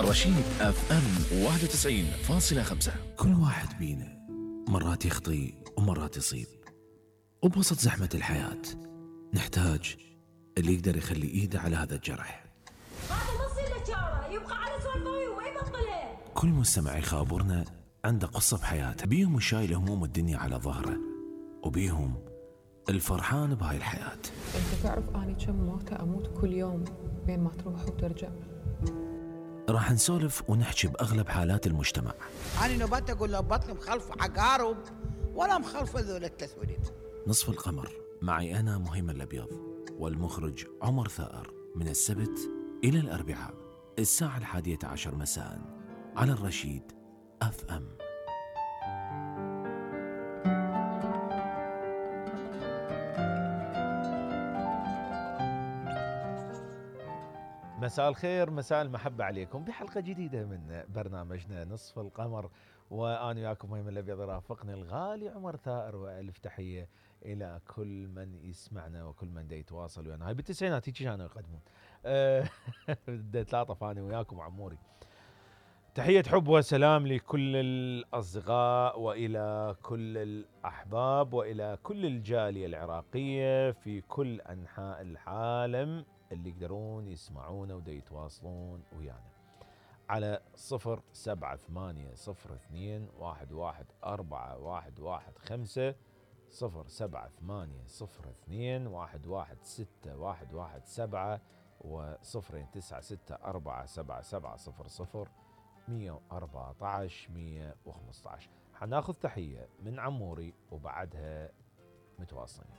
الرشيد اف ام 91.5. كل واحد بينا مرات يخطي ومرات يصيب، وبوسط زحمة الحياة نحتاج اللي يقدر يخلي ايده على هذا الجرح. هذا ما يصير له شاره، يبقى على سوالفه وما يبطله. كل مستمع يخابرنا عنده قصة بحياته، بيهم شايل هموم الدنيا على ظهره، وبيهم الفرحان بهاي الحياة. انت تعرف اني كم موتة اموت كل يوم بين ما تروح وترجع؟ راح نسولف ونحكي بأغلب حالات المجتمع. أنا نوبات أقول له بطني مخلف عقارب ولا مخلف ذول التسويلات. نصف القمر معي أنا مهيمن الأبيض والمخرج عمر ثائر، من السبت إلى الأربعاء الساعة 11 مساء على الرشيد اف ام. مساء الخير، مساء المحبة عليكم بحلقة جديدة من برنامجنا نصف القمر، وأنا وياكم مهيمن الأبيض، رافقني الغالي عمر ثائر، وألف تحية إلى كل من يسمعنا وكل من دا يتواصل ويانا. هاي بالتسعينات هيك كانوا يقدمون دا تلاطف أنا وياكم عموري. تحية حب وسلام لكل الأصدقاء وإلى كل الأحباب وإلى كل الجالية العراقية في كل أنحاء العالم اللي يقدرون يسمعونا ودا يتواصلون ويانا على 07802114115 07802116117 و09647700 114 115. حناخذ تحية من عموري وبعدها متواصلين.